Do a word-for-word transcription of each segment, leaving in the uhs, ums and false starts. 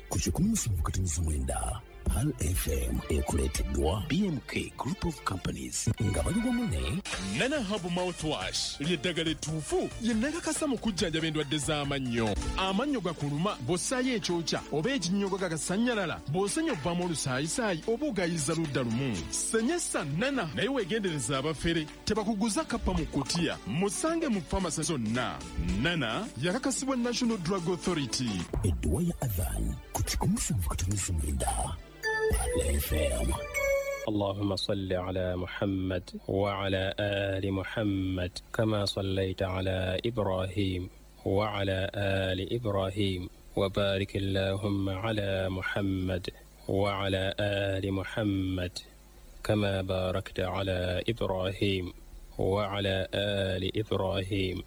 Ku kikumi musanvu katonnyeze mwenda Pearl F M ekuleeteddwa B M K Group of Companies nga bali wamu ne Nana Hub Mouthwash ly'eddagala ettuufu ye nakakasa mu kujjanjaba endwadde z'amannyo. Amannyo gakuluma bw'ossaayo ekyokya oba ekinnyogo gagasannyalala, bw'osenya ovaamu olusaayisaayi oba ogayiza ludda lumu. Senyesa Nana naye weegendereza abafere tebakuguza kappa mu kutiya. Musange mu famasi zonna. Nana yakakasibwa National Drug Authority. Edduwa ya Adhan ku kikumi musanvu katonnyeze mwenda F M. اللهم صل على محمد وعلى آل محمد كما صليت على إبراهيم وعلى آل إبراهيم وبارك اللهم على محمد وعلى آل محمد كما باركت على إبراهيم وعلى آل إبراهيم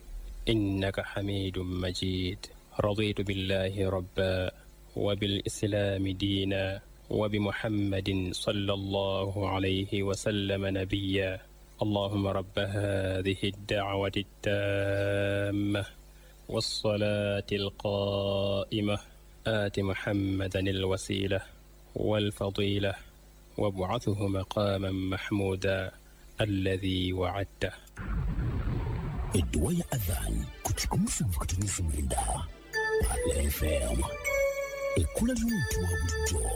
إنك حميد مجيد. رضيت بالله ربا وبالإسلام دينا وبمحمد صلى الله عليه وسلم نبيا. اللهم رب هذه الدعوة التامة والصلاة القائمة آت محمدا الوسيلة والفضيلة وابعثه مقاما محمودا الذي وعدته. الدواء أذان كتكم سنفكتني سميندا F M ekula ly'omuntu wa bulijjo.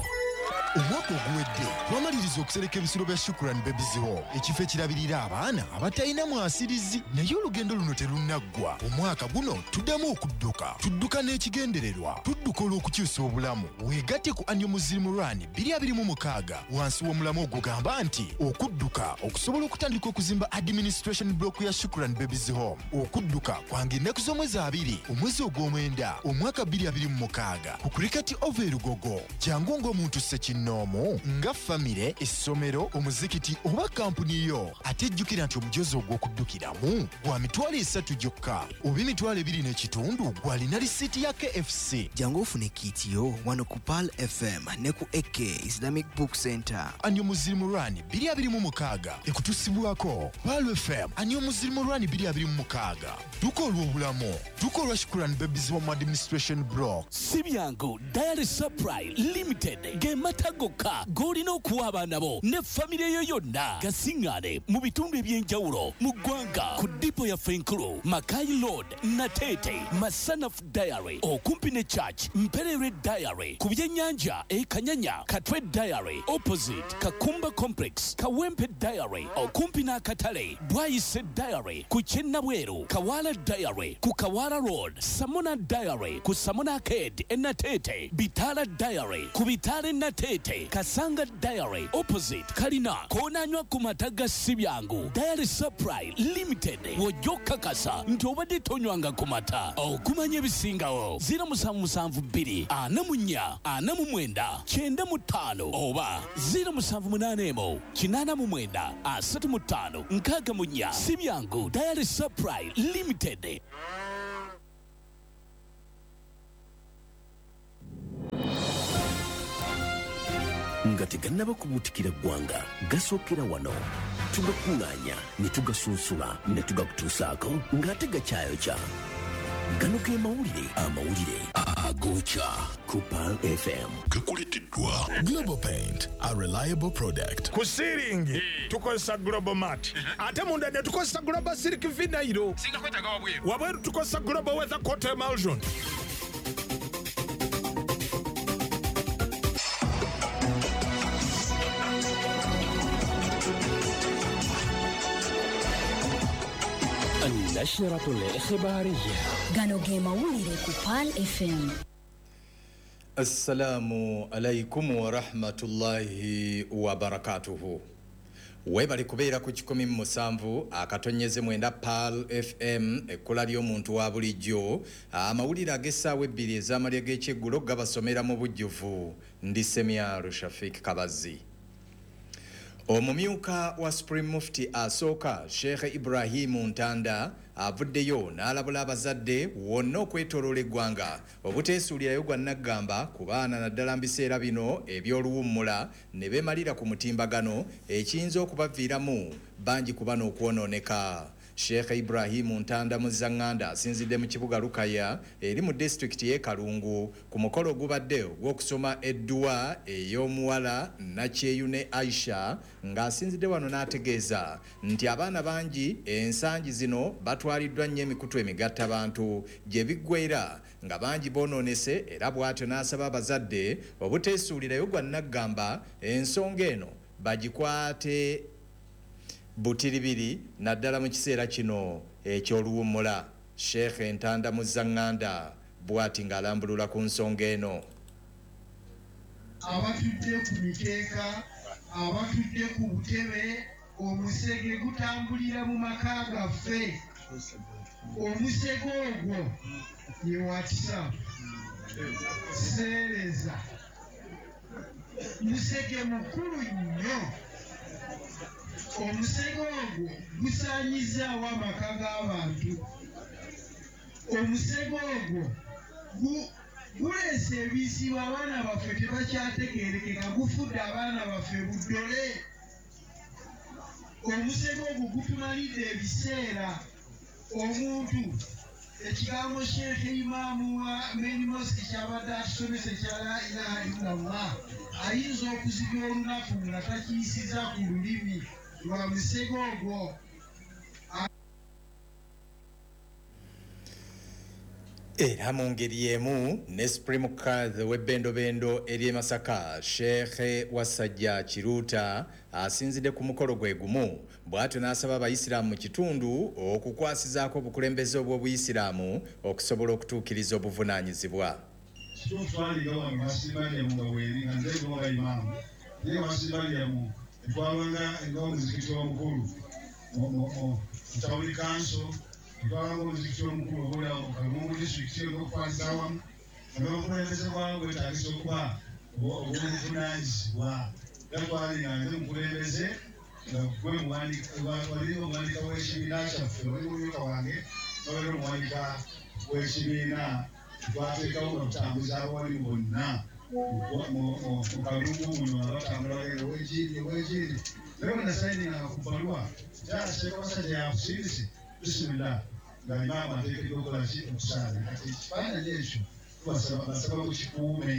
Omwaka oguwedde twamaliriza okusereka ebisulo bya Shukran Babies Home, ekifo ekirabirira abaana abatalina mwasirizi. Naye olugendo luno terunnaggwa. Omwaka guno tuddamu okudduka, tudduka n'ekigendererwa, tudduka olw'okukyusa obulamu. Weegatte ku Annual Muslim Run bbiri abiri mu mukaaga wansi w'omulamu ogugamba nti okudduka okusobola okutandika okuzimba administration block ya Shukran Babies Home. Okudduka kwange ennaku z'omwezi abiri omwezi ogw'omwenda omwaka bbiri abiri mu mukaaga ku Cricket Oval e Lugogo. Jangu ng'omuntu ssekinoomu nga famire, essomero, omuzikiti oba kampuni yo. Ate jjukira nti omujozi ogw'okuddukiramu gwa mitwalo esatu gyokka oba emitwalo ebiri n'ekitundu gw'alina risiiti ya K F C. Jangu ofune kiiti yo wano ku Pearl F M ne ku A K Islamic Book Center. Annual Muslim Run bbiri abiri mu mukaaga ekutusibwako Pearl F M. Annual Muslim Run bbiri abiri mu mukaaga. Tukola obulamu, tukola Shukran Babies Home Administration Block. Si byangu Dairy Supply Limited ge mata gokka g'olina okuwa abaana bo ne famire yo yonna. Gasiŋŋaane mu bitundu eby'enjawulo mu ggwanga ku dipo yaffe enkulu Makai Road, Nateete, Masanaf Dairy okumpi ne Church, Mperere Dairy ku byennyanja e Kanyanya, Katwe Dairy opposite Kakumba Complex, Kawempe Dairy okumpi n'akatale, Bwayise Dairy ku Kyennabweru, Kawala Dairy ku Kawala Road, Samona Dairy ku Samona Arcade e Nateete, Bitala Dairy ku Bitale Nateete, Kasanga Dairy opposite Kalina, koonanywa ku mata ga Sibyangu. Dairy Supply Limited w'ojja okukakasa nti obadde tonywanga ku mata. Okumanya ebisingawo ziro musanvu musanvu bbiri ana mu nnya ana mu mwenda kyenda mu ttaano oba ziro musanvu munaana emu kinaana mu mwenda asatu mu ttaano nkaaga mu nnya. Sibyangu Dairy Supply Limited. Nga tegannaba kubuutikira ggwanga, gasookera wano. Tugakuŋŋaanya ne tugasunsula ne tugakutuusaako ng'ate gakyayokya. Gano ge mawulire, amawulire agokya ku Pearl F M. Gakuleeteddwa Global Paint, a reliable product. Ku siiringi tukozesa Global Mat, ate munda ne tukozesa Global Silk Vinyl. Singa kwetaaga wabweru. Wabweru tukozesa Global Weather Coat Emulsion. النشرة الإخبارية. Gano ge mawulire ku Pearl F M. Assalamu alaikum wa rahmatullahi wa barakatuhu. Webali kubeera ku kikumi mu musanvu akatonyeze mwenda Pearl F M ekkula ly'omuntu wa bulijjo. Amawulire ag'essaawa ebbiri ez'amalya g'ekyeggulo gabasomera mu bujjuvu. Ndi Semyalo Shafik Kabazi. Omumyuka wa Supreme Mufti asooka Sheikh Ibrahim Ntanda avuddeyo n'alabula abazadde wonna okwetooloola eggwanga obuteesuulirayo gwa nnaggamba ku baana naddala mu biseera bino eby'oluwummula ne beemalira ku mutimbagano ekiyinza okubaviiramu bangi ku bano okwonooneka. Sheikh Ibrahim Ntanda Muzanganda asinzidde mu kibuga Lukaya eri mu disitulikiti y'e Kalungu ku mukolo ogubadde ogw'okusoma edduwa ey'omuwala Nakyeyune Aisha, ng'asinzidde wano n'ategeeza nti abaana bangi ensangi zino batwaliddwa nnyo emikutu emigattabantu gye biggweera nga bangi boonoonese, era bw'atyo n'asaba abazadde obuteesuulirayo gwa nnaggamba ensonga eno bagikwate butiribiri naddala mu kiseera kino eky'oluwummula. Sheikh Ntanda Muzanganda bw'ati ng'alambulula ku nsonga eno. Abatudde ku mikeeka, abatudde ku butebe, omusege gutambulira mu maka gaffe. Omusege ogwo ye WhatsApp, seereza, musege mukulu nnyo. Omusege ogwo gusaanyizaawo amaka g'abantu. Omusege ogwo guleese ebizibu, abaana baffe tebakyategeerekeka, gufudde abaana baffe buddole. Omusege ogwo gutumalidde ebiseera. Omuntu ekigambo Sheikh Imaamu wa Main Mosque kyabadde atusomesa ekya la ilaha illallah ayinza okuzibya olunaku nga takiyisiza ku lulimi lwa musege ogwo. Era mu ngeri y'emu ne Supreme Court w'ebbendobendo ery'e Masaka Sheikh Wasajja Kiruuta asinzidde ku mukolo gwe gumu, bw'atyo n'asaba abayisiraamu mu kitundu okukwasizaako obukulembeze obw'obuyisiraamu okusobola okutuukiriza obuvunaanyizibwa. Kituufu twalinga wano wasibalyamu nga weeri nga nze nga imaamu, naye wasibalyamu etwalanga ng'omuzikiti omukulu mu tawuni kanso, twalanga omuzikiti omukulu obuulira mu Kalungu disitulikiti okukwasiza awamu nga n'obukulembeze bwawo bwetaagisa okuba obw'obuvunaanyizibwa. Era twalinga nze mukulembeze nga gwe wali omuwanika w'ekibiina kyaffe, wali mumyuka wange n'obeera omuwanika w'ekibiina. Twateekawo nga tutambuza abawali bonna mu Kalungu muno abatambula bagenda ow'ekiiri ow'ekiiri. Naye bwe nasayininganga ku bbaluwa kyala Sheikh Wasajja yakusindise bisimillah nga imaamu ateekeddwa okukola ki okusaala. Kati ekifaananyi ekyo tubasaba basaba mukikuume,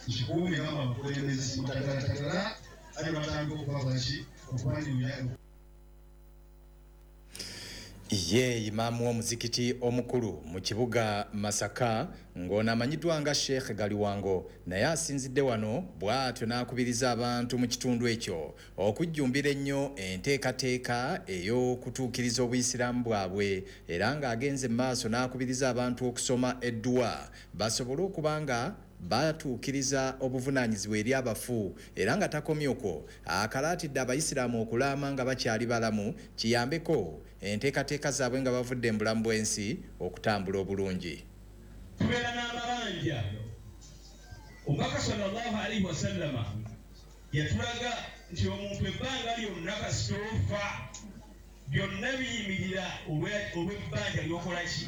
mukikuume nga abakulembeze mutagalatagala ate batandika okubakola ki okubanyumya. Ye imaamu w'omuzikiti omukulu mu kibuga Masaka ng'ono amanyiddwa nga Sheikh Galiwango naye asinzidde wano bw'atyo n'akubiriza abantu mu kitundu ekyo okujjumbira ennyo enteekateeka ey'okutuukiriza obuyisiraamu bwabwe, era ng'agenze mu maaso n'akubiriza abantu okusoma edduwa basobole okuba nga batuukiriza obuvunaanyizibwa eri abafu, era nga takomye okwo akalaatidde abayisiraamu okulaama nga bakyali balamu kiyambeko enteekateeka zaabwe nga bavudde mu bulamu bw'ensi okutambula obulungi. Tubeera n'amabanja. Omubaka sallallahu alaihi wasallama yatulaga nti omuntu ebbanga lyonna kasita ofa byonna biyimirira olw'ebbanja ly'okola ki,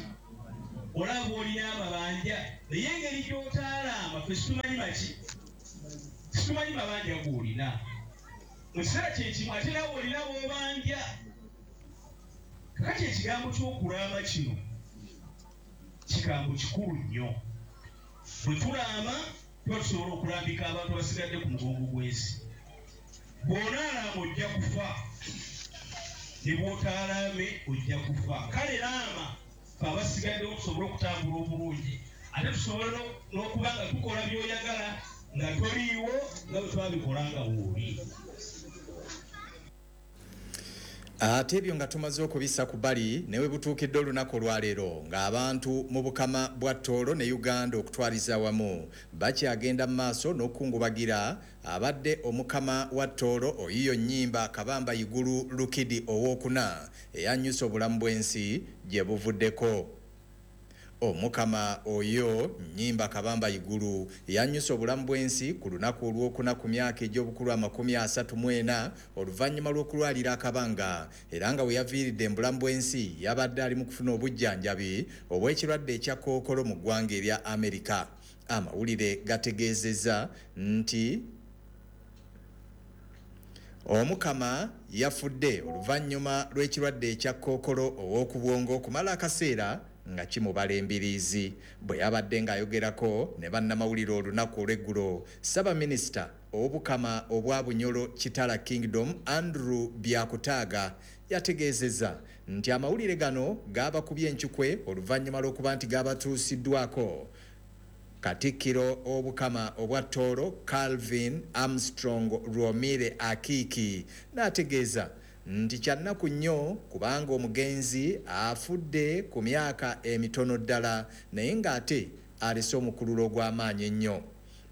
olaba olina amabanja, naye engeri gy'otaalaama ffe situmanyi maki, situmanyi mabanja g'olina mu kiseera kyekimu, ate naawe olina b'obanja. Kakati ekigambo ky'okulaama kino kigambo kikulu nnyo. Bwe tulaama tuba tusobola okulambika abantu abasigadde ku mugongo gw'ensi. Bw'onaalaama ojja kufa, ne bw'otaalaame ojja kufa. Kale laama ffe abasigaddewo tusobole okutambula obulungi, ate tusobole n'okuba nga tukola by'oyagala nga toliiwo nga bwe twabikola nga wooli. Ate ebyo nga tumaze okubissa ku bbali ne we butuukidde olunaku olwaleero ng'abantu mu Bukama bwa Tooro ne Uganda okutwaliza awamu bakyagenda mu maaso n'okukungubagira abadde omukama wa Tooro Oyiyo Nnyimba Kabamba Igulu Lukidi owookuna eyannyusa obulamu bw'ensi gye buvuddeko. Omukama oyo Nnyimba Kabamba Igulu yannyusa obulamu bw'ensi ku lunaku olwokuna ku myaka egy'obukulu amakumi asatu mu ena oluvannyuma lw'okulwalira akabanga, era nga we yaviiridde mu bulamu bw'ensi yabadde ali mu kufuna obujjanjabi obw'ekirwadde ekya kookolo mu ggwanga erya Amerika. Amawulire gategeezezza nti Omukama yafudde oluvannyuma lw'ekirwadde ekya kookolo ow'okubwongo okumala akaseera nga kimubala embiriizi. Bwe yabadde ng'ayogerako ne bannamawulire olunaku olw'eggulo, Ssaabaminisita ow'Obukama obwa Bunyoro Kitara Kingdom Andrew Byakutaaga yategeezezza nti amawulire gano gaabakubye encukwe oluvannyuma lw'okuba nti gaabatuusiddwako Katikkiro Obukama obwa Tooro Calvin Armstrong Rwomire Akiiki, n'ategeeza nti kyannaku nnyo kubanga omugenzi afudde ku myaka emitono ddala naye ng'ate alese omukululo ogw'amaanyi ennyo.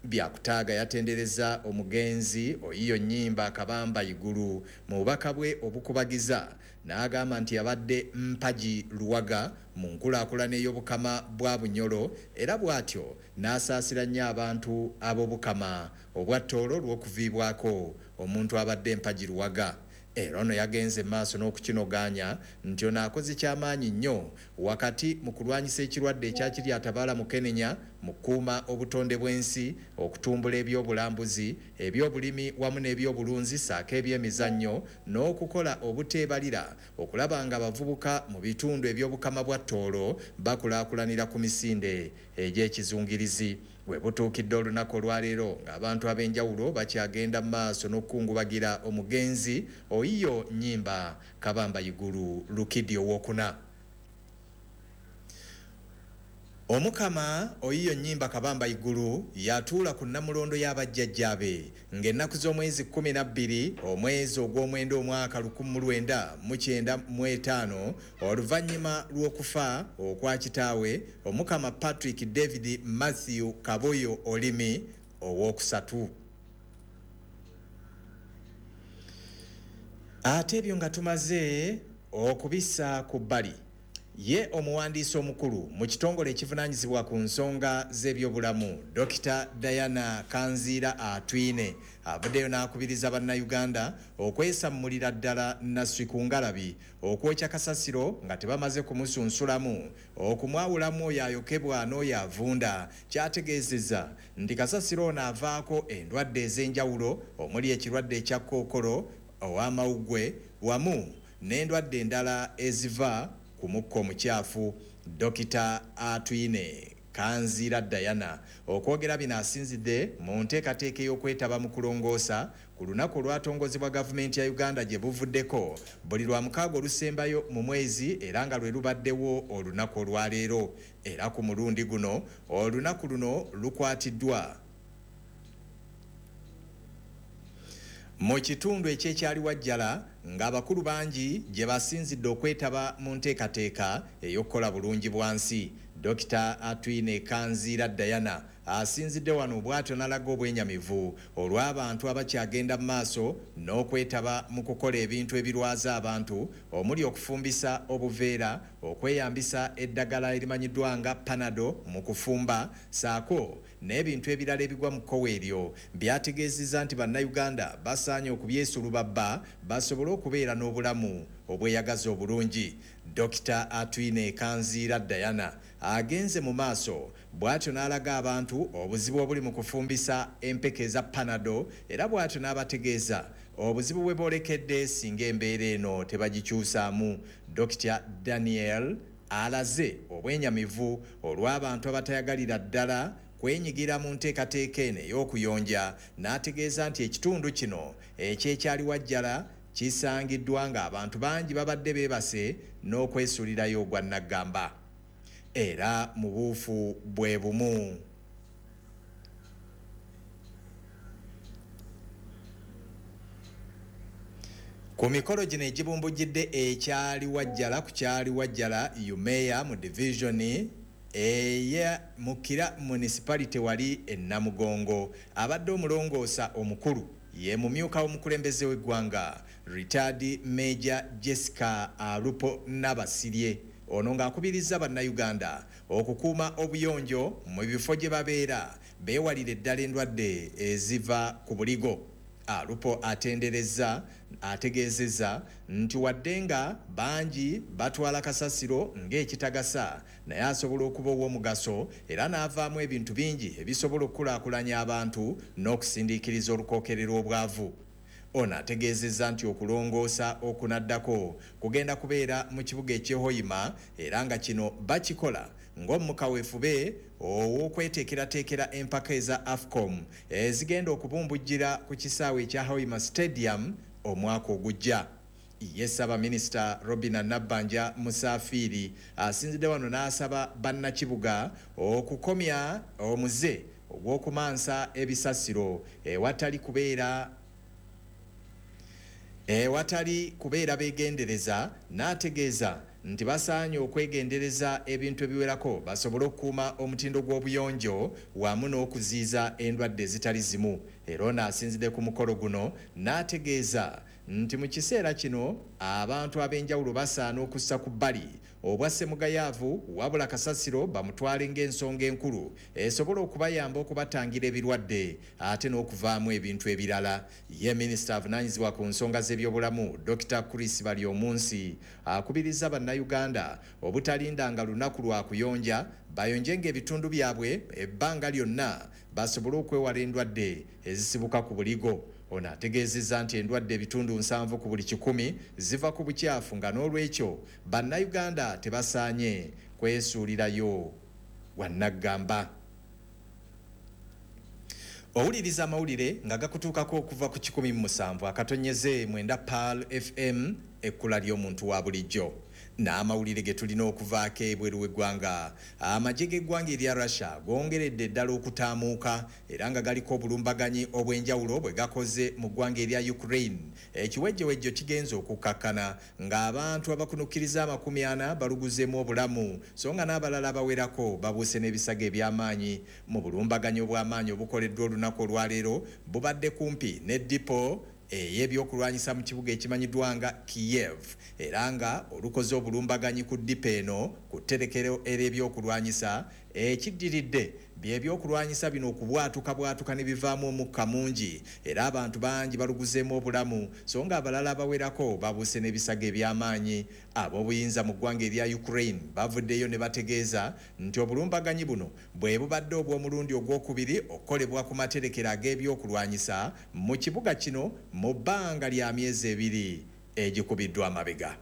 Byakutaaga yatendereza omugenzi Oyiyo Nnyimba Kabamba Iguru mu bubaka bwe obukubagiza, n'agamba nti yabadde mpagi luwaga mu nkulaakulana ey'Obukama bwa Bunyoro, era bw'atyo n'asaasira nnyo abantu ab'Obukama obwa Tooro olw'okuviibwako omuntu abadde empagi luwaga. Era ono yagenze maaso n'okukinogaanya nti ono akoze kyamaanyi nnyo wakati mu kulwanyisa ekirwadde ekyakiri atabaala Mukenenya, mu kukuuma obutonde bw'ensi, okutumbula ebyobulambuzi, ebyobulimi wamu n'ebyobulunzi ssaako ebyemizannyo, n'okukola obuteebalira okulaba nga abavubuka mu bitundu eby'Obukama bwa Tooro bakulaakulanira ku misinde egy'ekizungirizi. We butuukidde olunaku olwaleero ng'abantu ab'enjawulo bakyagenda mu maaso n'okukungubagira omugenzi Oyiyo Nnyimba Kabamba Iguru Lukidi owokuna. Omukama Oyiyo Nnyimba Kabamba Iguru yatuula ku nnamulondo y'abajjajjaabe ng'ennaku z'omwezi kkumi na bbiri omwezi ogw'omwenda omwaka lukumi mu lwenda mu kyenda mu etaano oluvannyuma lw'okufa okwa kitaawe Omukama Patrick David Matthew Kaboyo Olimi owookusatu. Ate ebyo nga tumaze okubissa ku bbali, ye omuwandiisi omukulu mu kitongole ekivunaanyizibwa ku nsonga z'ebyobulamu Dokita Diana Kanziira Atwine avuddeyo n'akubiriza bannayuganda okwesammulira ddala nasswi ku ngalabi okwokya kasasiro nga tebamaze kumusunsulamu, okumwawulamu oyo ayokebwa n'oyo avunda. Kyategeezezza nti kasasiro ono avaako endwadde ez'enjawulo omuli ekirwadde ekya kookolo ow'amawuggwe wamu n'endwadde endala eziva ku mukka omukyafu. Dokita Atwine Kanziira Diana okwogera bino asinzidde mu nteekateeka ey'okwetaba mu kulongoosa ku lunaku olwatongozebwa gavumenti ya Uganda gye buvuddeko buli lwa mukaaga olusembayo mu mwezi, era nga lwe lubaddewo olunaku olwaleero. Era ku mulundi guno olunaku luno lukwatiddwa mu kitundu ekyekyaliwajjala ng'abakulu bangi gye basinzidde okwetaba mu nteekateeka ey'okukola bulungi bwansi. Dokita Atwine Kanziira Diana asinzidde wano bw'atyo n'alaga obwenyamivu olw'abantu abakyagenda mu maaso n'okwetaba mu kukola ebintu ebirwaza abantu omuli okufumbisa obuveera, okweyambisa eddagala erimanyiddwa nga Panado mu kufumba ssaako n'ebintu ebirala ebigwa mu kkowe eryo. Byategeezezza nti bannayuganda basaanye okubyesulubabba basobole okubeera n'obulamu obweyagaza obulungi. Dokita Atwine Kanziira Diana agenze mu maaso bw'atyo n'alaga abantu obuzibu obuli mu kufumbisa empeke eza Panado, era bw'atyo n'abategeeza obuzibu bwe boolekedde singa embeera eno tebagikyusaamu. Dokita Daniel alaze obwenyamivu olw'abantu abatayagalira ddala kwenyigira mu nteekateeka eno ey'okuyonja, n'ategeeza nti ekitundu kino ekyekyaliwajjala kisangiddwa ng'abantu bangi babadde beebase n'okwesuulirayo ogwa nnaggamba. Era mu buufu bwe bumu ku mikolo gino egibumbujjidde ekyaliwajjala ku kyaliwajjala Umeya mu divisioni eya Mukira Municipality wali e Namugongo, abadde omulongoosa omukulu ye mumyuka w'omukulembeze w'eggwanga Retired Major Jessica Alupo Nabasirye. Ono ng'akubiriza bannayuganda okukuuma obuyonjo mu bifo gye babeera beewalire ddala endwadde eziva ku buligo. Alupo atenderezza ategeezezza nti wadde nga bangi batwala kasasiro ng'ekitagasa, naye asobola okuba ow'omugaso era n'avaamu ebintu bingi ebisobola okukulaakulanya abantu n'okusindiikiriza olukookerero obwavu. Ono ategeezezza nti okulongoosa okunaddako kugenda kubeera mu kibuga eky'e Hoima era nga kino bakikola ng'omukaweefube ow'okweteekerateekera empaka eza AFCON ezigenda okubumbujjira ku kisaawe ekya Hoima Stadium omwaka ogujja. Ye Ssaabaminisita Robina Nabbanja Musafiiri asinzidde wano n'asaba bannakibuga okukomya omuze ogw'okumansa ebisasiro ewatali kubeera ewatali kubeera beegendereza, n'ategeeza nti basaanye okwegendereza ebintu ebiwerako basobole okukuuma omutindo gw'obuyonjo wamu n'okuziiza endwadde ezitali zimu. Era ono asinzidde ku mukolo guno n'ategeeza nti mu kiseera kino abantu ab'enjawulo basaana okussa ku bbali obwa ssemugayaavu, wabula kasasiro bamutwale ng'ensonga enkulu esobola okubayamba okubatangira ebirwadde ate n'okuvaamu ebintu ebirala. Ye minisita avunaanyizibwa ku nsonga z'ebyobulamu Dokita Chris Baryomunsi akubiriza bannayuganda obutalindanga lunaku lwa kuyonja, bayonjenga ebitundu byabwe ebbanga lyonna basobole okwewala endwadde ezisibuka ku buligo. Ono ategeezezza nti endwadde ebitundu nsanvu ku buli kikumi ziva ku bukyafu, nga n'olwekyo bannayuganda tebasaanye kwesuulirayo wannaggamba. Owuliriza amawulire nga gakutuukako okuva ku kikumi mu musanvu akatonyeze mwenda Pearl F M, ekkula ly'omuntu wa bulijjo. N'amawulire ge tulina okuvaako ebweru w'eggwanga, amagye g'eggwanga erya Russia gongeredde ddala okutaamuuka era nga galiko obulumbaganyi obw'enjawulo bwe gakoze mu ggwanga erya Ukraine. Ekiwejjewejjo kigenze okukkakkana ng'abantu abakunukkiriza amakumi ana baluguzeemu obulamu, so nga n'abalala abawerako babuuse n'ebisago eby'amaanyi. Mu bulumbaganyi obw'amaanyi obukoleddwa olunaku olwaleero bubadde kumpi ne dipo ey'ebyokulwanyisa mu kibuga ekimanyiddwa nga Kiev, era nga olukoze obulumbaganyi ku ddipo eno ku tterekero ery'ebyokulwanyisa. Ekiddiridde byebyokulwanyisa bino okubwatuka bwatuka ne bivaamu omukka mungi era abantu bangi baluguzeemu obulamu, so nga abalala abawerako babuuse n'ebisago eby'amaanyi. Ab'obuyinza mu ggwanga erya Ukraine bavuddeyo ne bategeeza nti obulumbaganyi buno bwe bubadde obw'omulundi ogwokubiri okukolebwa ku materekero ag'ebyokulwanyisa mu kibuga kino mu bbanga lya myezi ebiri egikubiddwa amabega.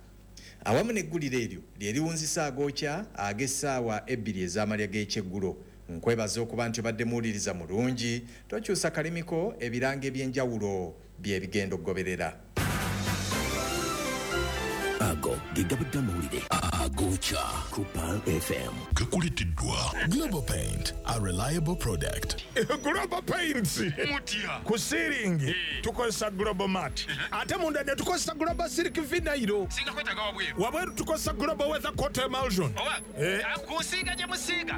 Awamu n'eggulire eryo lye liwunzisa agookya ag'essaawa ebbiri ez'amalya g'ekyeggulo. Nkwebaza okuba nti obadde muwuliriza mulungi, tokyusa kalimiko, ebirango eby'enjawulo bye bigenda okugoberera. Ago ge gabadde amawulire agookya ku Pearl F M. Gakuleeteddwa Global Paint, a reliable product. Global Paints ku siiringi tukozesa Global Mat, ate munda ne tukozesa Global Silk Vinyl, wabweru tukozesa Global Weather Coat Emulsion. Kusiiga gye musiiga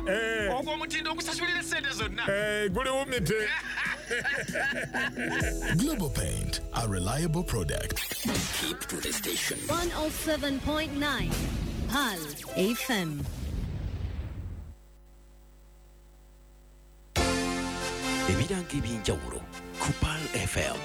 ogwo omutindo ogusasulira essente zonna guliwumite. Global Paint, a reliable product. Keep to the station. one oh seven point nine Pearl F M. Ebirango eby'enjawulo ku Pearl F M.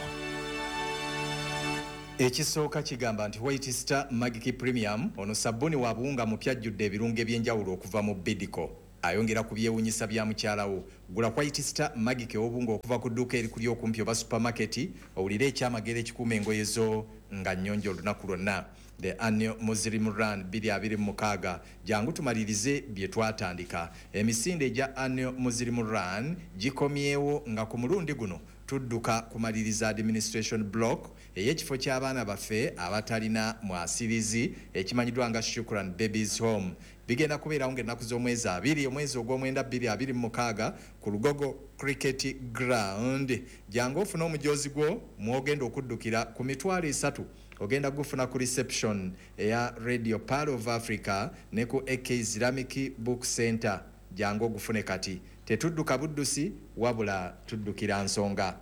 Ekisooka kigamba nti White Star Magic Premium ono sabbuuni wa buwunga mupya ajjudde ebirungo eby'enjawulo okuva mu Bidco. Ayongera ku byewuunyisa bya mukyalawo. Gula White Star Magic ow'obuwunga okuva ku dduuka erikuli okumpi oba supermarket, owulire ekyamagero ekikuuma engoye zo nga nnyonjo olunaku lwonna. The annual Muslim Run bbiri abiri mu mukaaga, jangu tumalirize bye twatandika. Emisinde egya annual Muslim Run gikomyewo nga ku mulundi guno tudduka kumaliriza administration block ey'ekifo ky'abaana baffe abatalina mwasirizi ekimanyiddwa nga Shukran Babies Home. Bigenda kubeerawo ng'ennaku z'omwezi abiri omwezi ogw'omwenda bbiri abiri mu mukaaga ku Lugogo Cricket Ground. Jangu ofune omujoozi gwo mw'ogenda okuddukira ku mitwalo esatu. Ogenda gufuna ku reception eya Radio Pearl of Africa ne ku A K Islamic Book Center. Jangu ogufune kati. Tetudduka buddusi wabula tuddukira nsonga.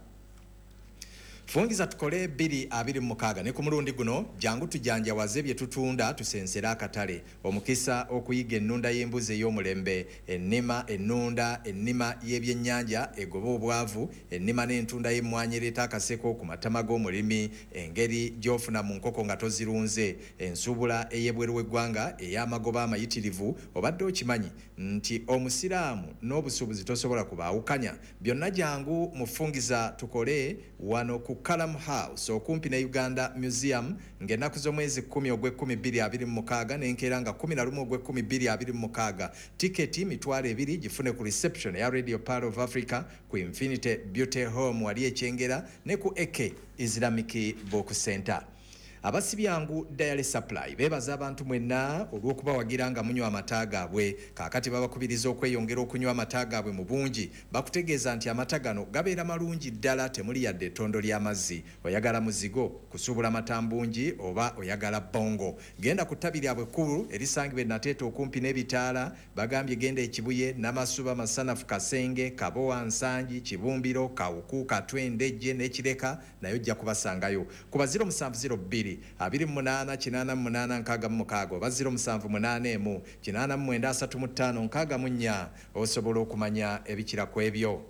Fungiza tukole bbiri abiri mu mukaaga ne ku mulundi guno jangu tujanjawaze bye tutunda tusensere akatale. Omukisa okuyiga ennunda y'embuzi ey'omulembe, ennima ennunda, ennima y'ebyennyanja egoba obwavu, ennima n'entunda y'emmwanyi ereeta akaseko ku matama g'omulimi, engeri gy'ofuna mu nkoko nga tozirunze, ensuubula ey'ebweru w'eggwanga ey'amagoba amayitirivu. Obadde okimanyi nti omusiraamu n'obusuubuzi tosobola kubaawukanya? Byonna jangu mufungiza tukole wano ku Kalam House okumpi ne Uganda Museum ng'ennaku z'omwezi kkumi ogw'ekkumi bbiri abiri mu mukaaga n'enkeera nga kkumi na lumu ogw'ekkumi bbiri abiri mu mukaaga. Tiketi mitwalo ebiri gifune ku reception ya Radio Pearl of Africa, ku Infinity Beauty Home wali Ekyengera ne ku A K Islamic Book Center. Abasibyangu Dairy Supply beebaza abantu mwenna olw'okubawagira nga munywa amata gaabwe. Kaakati babakubiriza okweyongera okunywa amata gaabwe mu bungi. Bakutegeeza nti amata gano gabeera malungi ddala, temuli yadde ettondo ly'amazzi. Oyagala muzigo, kusuubula mata mbungi oba oyagala bongo, genda ku ttabi lyabwe ekkulu erisangibwa e Nateete okumpi n'ebitaala. Bagambye genda e Kibuye, Namasuba, Masanafu, Kasenge, Kabowa, Nsangi, Kibumbiro, Kawuku, Katwe, Ndejje n'Ekireka, naye ojja kubasangayo kuba ziro musanvu ziro bbiri abiri mu munaana kinaana mu munaana nkaaga mu mukaaga oba ziro musanvu munaana emu kinaana mu mwenda asatu mu ttaano nkaaga mu nnya osobola okumanya ebikira ku ebyo.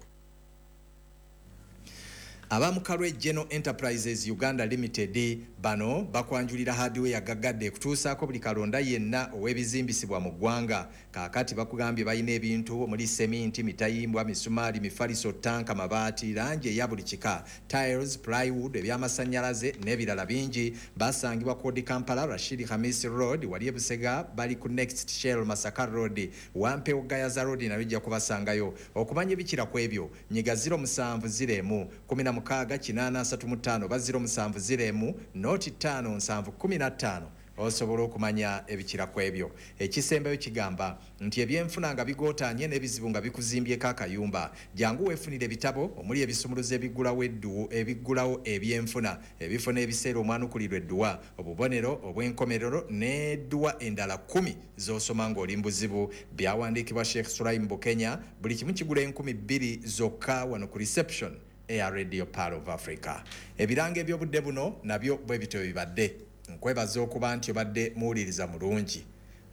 Abamukalwe General Enterprises Uganda Limited bano bakwanjulira hardware gaggadde ekutuusaako buli kalonda yenna ow'ebizimbisibwa mu ggwanga. Kaakati bakugambye balina ebintu omuli seminti, mitayimbwa, misumaali, mifaliso, ttanka, mabaati, langi eya buli kika, tiles, plywood, ebyamasannyalaze n'ebirala bingi. Basangibwa Kodi Kampala, Rashid Hamis Road, wali e Busega, bali ku Next Shell Masaka Road, Wampewo Gayaza Road nayo ojja kubasangayo. Okumanya ebikira ku ebyo nyiga ziro musanvu ziro emu kumi na mukaaga kinaana asatu mu ttaano oba ziro musanvu ziro emu noti ttaano nsanvu kkumi na ttaano osobola okumanya ebikira ku ebyo. Ekisembayo kigamba nti ebyenfuna nga bigootaanye n'ebizibu nga bikuzimbyeko akayumba, jangu weefunire ebitabo omuli ebisumuluzo ebiggulawo eddu ebiggulawo ebyenfuna, ebifo n'ebiseera omwanukulirwa edduwa, obubonero obw'enkomerero n'edduwa endala kkumi z'osoma ng'oli mu buzibu. Byawandiikibwa Sheikh Sulaim Bukenya. Buli kimu kigula enkumi bbiri zokka wano ku reception eya Radio Pearl of Africa. Ebirango eby'obudde buno nabyo bwe bityo bibadde. Nkwebaza okuba nti obadde muwuliriza mulungi.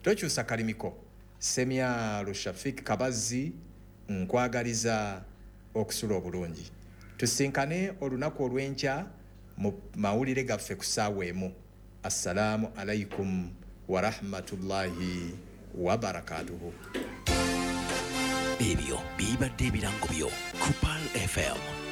Tokyusa kalimiko. Semyalo Shafik Kabazi nkwagaliza okusula obulungi. Tusinkane olunaku olw'enkya mu mawulire gaffe ku ssaawa emu. Assalaamu alaikum wa rahmatullahi wa barakatuhu. Ebyo bibadde ebirango byo ku Pearl F M.